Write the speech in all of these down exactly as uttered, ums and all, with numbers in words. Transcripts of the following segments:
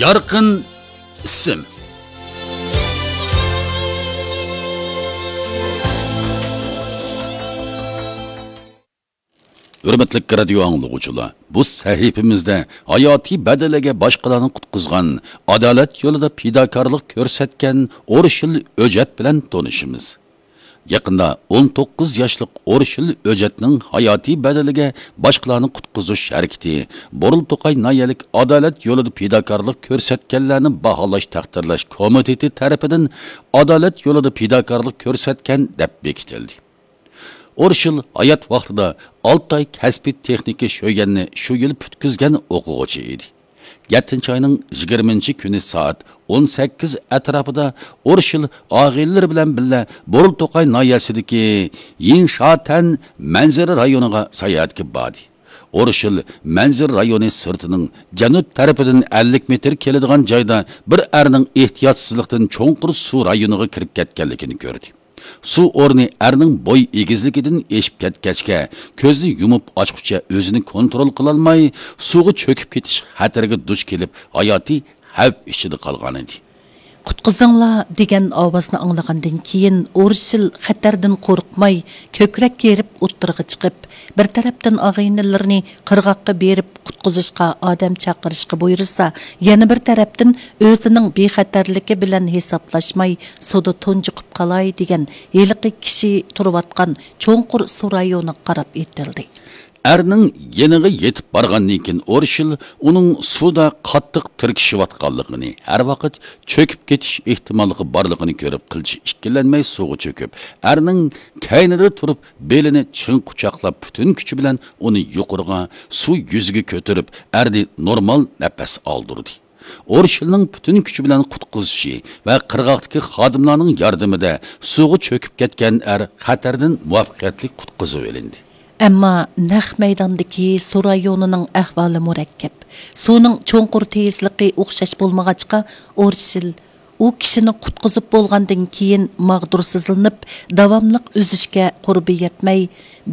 يارقىن ئىسىم. ھۆرمەتلىك رادىيو ئاڭلىغۇچىلار، بۇ سەھىپىمىزدە ھاياتىي بەدىلىگە باشقىلارنى قۇتقۇزغان، ئادالەت يولىدا پىداكارلىق كۆرسەتكەن ئورشىل ئۆجەت بىلەن تونۇشىمىز. يېقىندا ئون توققۇز ياشلىق ئورشىل ئۆجەتنىڭ ھاياتىي بەدىلىگە باشقىلارنى قۇتقۇزۇش ھەرىكىتى بۇرۇلتوقاي ناھىيەلىك ئادالەت يولىدا پىداكارلىق كۆرسەتكەنلەرنى باھالاش تەقدىرلەش كومىتېتى تەرىپىدىن ئادالەت يولىدا پىداكارلىق كۆرسەتكەن دەپ بېكىتىلدى. ئورشىل ھايات ۋاقتىدا ئالتاي كەسپىي تېخنىكا شۆيۈەننى شۇ يىل پۈتكۈزگەن ئوقۇغۇچى ئىدى. يەتتىنچى ئاينىڭ يىگىرمىنچى كۈنى سائەت ئون سەككىز ئەتراپىدا ئورشىل ئاغىنىلىرى بىلەن بىللە بۇرۇلتوقاي ناھىيەسىدىكى يىنشاتەن مەنزىرە رايونىغا ساياھەتكە باردى. ئورشىل مەنزىرە رايونى سىرتىنىڭ جەنۇب تەرىپىدىن ئەللىك مېتىر كېلىدىغان جايدا بىر ئەرنىڭ ئېھتىياتسىزلىقتىن چوڭقۇر سۇ رايونىغا كىرىپ كەتكەنلىكىنى كۆردى. سۇ ئورنى ئەرنىڭ بوي ئېگىزلىكىدىن ئېشىپ كەتكەچكە، كۆزنى يۇمۇپ ئاچقۇچە ئۆزىنى كونترول قىلالماي، سۇغا چۆكۈپ كېتىش خەتىرىگە دۇچ كېلىپ، ھاياتىي خەۋپ ئىچىدە قالغانىدى. «قۇتقۇزۇڭلار» دېگەن ئاۋازنى ئاڭلىغاندىن كېيىن، ئورشىل خەتەردىن قورقماي، كۆكرەك كېرىپ ئوتتۇرىغا چىقىپ، بىر تەرەپتىن ئاغىنىلىرىنى قىرغاققا بېرىپ قۇتقۇزۇشقا ئادەم چاقىرىشقا بۇيرۇسا، يەنە بىر تەرەپتىن ئۆزىنىڭ بىخەتەرلىكى بىلەن ھېسابلاشماي، سۇدا تۇنجۇقۇپ قالاي دېگەن ھېلىقى كىشى تۇرۇۋاتقان چوڭقۇر سۇ رايونىغا قاراپ ئېتىلدى. ئەرنىڭ يېنىغا يېتىپ بارغاندىن كېيىن، ئورشىل ئۇنىڭ سۇدا قاتتىق تىركىشىۋاتقانلىقىنى، ھەر ۋاقىت چۆكۈپ كېتىش ئېھتىماللىقى بارلىقىنى كۆرۈپ، قىلچە ئىككىلەنمەي سۇغا چۆكۈپ، ئەرنىڭ كەينىدە تۇرۇپ، بېلىنى چىڭ قۇچاقلاپ، پۈتۈن كۈچى بىلەن ئۇنى يۇقىرىغا، سۇ يۈزىگە كۆتۈرۈپ، ئەرنى نورمال نەپەس ئالدۇردى. ئورشىلنىڭ پۈتۈن كۈچى بىلەن قۇتقۇزۇشى ۋە قىرغاقتىكى خادىملارنىڭ ياردىمىدە سۇغا چۆكۈپ كەتكەن ئەر خەتەردىن مۇۋەپپەقىيەتلىك قۇتقۇزۇۋېلىندى. ئەمما نەق مەيداندىكى سۇ رايونىنىڭ ئەھۋالى مۇرەككەپ. سۇنىڭ چوڭقۇر تېيىزلىقى ئوخشاش بولمىغاچقا، ئورشىل ئۇ كىشىنى قۇتقۇزۇپ بولغاندىن كېيىن ماغدۇرسىزلىنىپ، داۋاملىق ئۈزۈشكە قۇربى يەتمەي،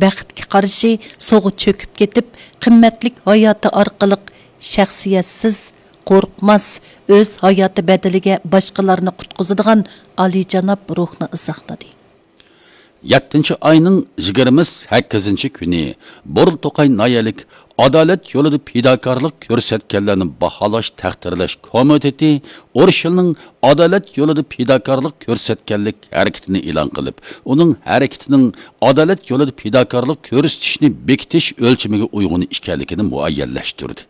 بەختكە قارشى سۇغا چۆكۈپ كېتىپ، قىممەتلىك ھاياتى ئارقىلىق شەخسىيەتسىز، قورقماس، ئۆز ھاياتى بەدىلىگە باشقىلارنى قۇتقۇزىدىغان ئالىيجاناب روھنى ئىزاھلىدى. يەتتىنچى ئاينىڭ يىگىرمە سەككىزىنچى كۈنى بۇرۇلتوقاي ناھىيەلىك ئادالەت يولىدا پىداكارلىق كۆرسەتكەنلەرنى باھالاش تەقدىرلەش كومىتېتى ئورشىلنىڭ ئادالەت يولىدا پىداكارلىق كۆرسەتكەنلىك ھەرىكىتىنى ئېلان قىلىپ، ئۇنىڭ ھەرىكىتىنىڭ ئادالەت يولىدا پىداكارلىق كۆرسىتىشنى بېكىتىش ئۆلچىمىگە ئۇيغۇن ئىكەنلىكىنى مۇئەييەنلەشتۈردى.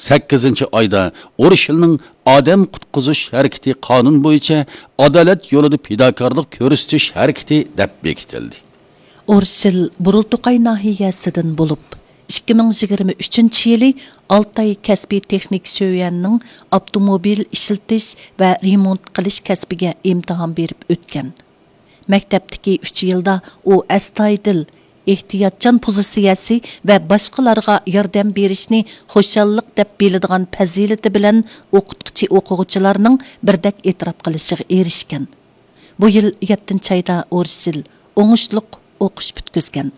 سەككىزىنچى ئايدا ئورشىلنىڭ ئادەم قۇتقۇزۇش ھەرىكىتى قانۇن بويىچە ئادالەت يولىدا پىداكارلىق كۆرسىتىش ھەرىكىتى دەپ بېكىتىلدى. ئورشىل بۇرۇلتوقاي ناھىيەسىدىن بولۇپ، ئىككى مىڭ يىگىرمە ئۈچىنچى يىلى ئالتاي كەسپىي تېخنىك شۆيۈەننىڭ ئاپتوموبىل ئىشلىتىش ۋە رېمونت قىلىش كەسپىگە ئىمتىھان بېرىپ ئۆتكەن. مەكتەپتىكى ئۈچ يىلدا ئۇ ئەستايىدىل، ئېھتىياتچان پوزىتسىيەسى ۋە باشقىلارغا ياردەم بېرىشنى خۇشاللىق دەپ بىلىدىغان پەزىلىتى بىلەن ئوقۇتقۇچى ئوقۇغۇچىلارنىڭ بىردەك ئېتىراپ قىلىشىغا ئېرىشكەن. بۇ يىل يەتتىنچى ئايدا ئورشىل ئوڭۇشلۇق ئوقۇش پۈتكۈزگەن.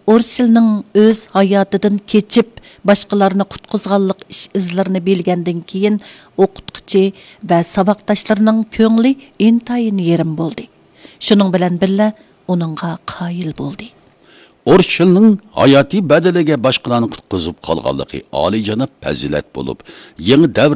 ئورشىلنىڭ ئۆز ھاياتىدىن كېچىپ، باشقىلارنى قۇتقۇزغانلىق ئىش ئىزلىرىنى بىلگەندىن كېيىن، ئوقۇتقۇچى ۋە ساۋاقداشلىرىنىڭ كۆڭلى ئىنتايىن يېرىم بولدى. شۇنىڭ بىلەن بىللە، ئۇنىڭغا قايىل بولدى. ئورشىلنىڭ ھاياتىي بەدىلىگە باشقىلارنى قۇتقۇزۇپ قالغانلىقى ئالىيجاناب پەزىلەت بولۇپ، يېڭى دەۋر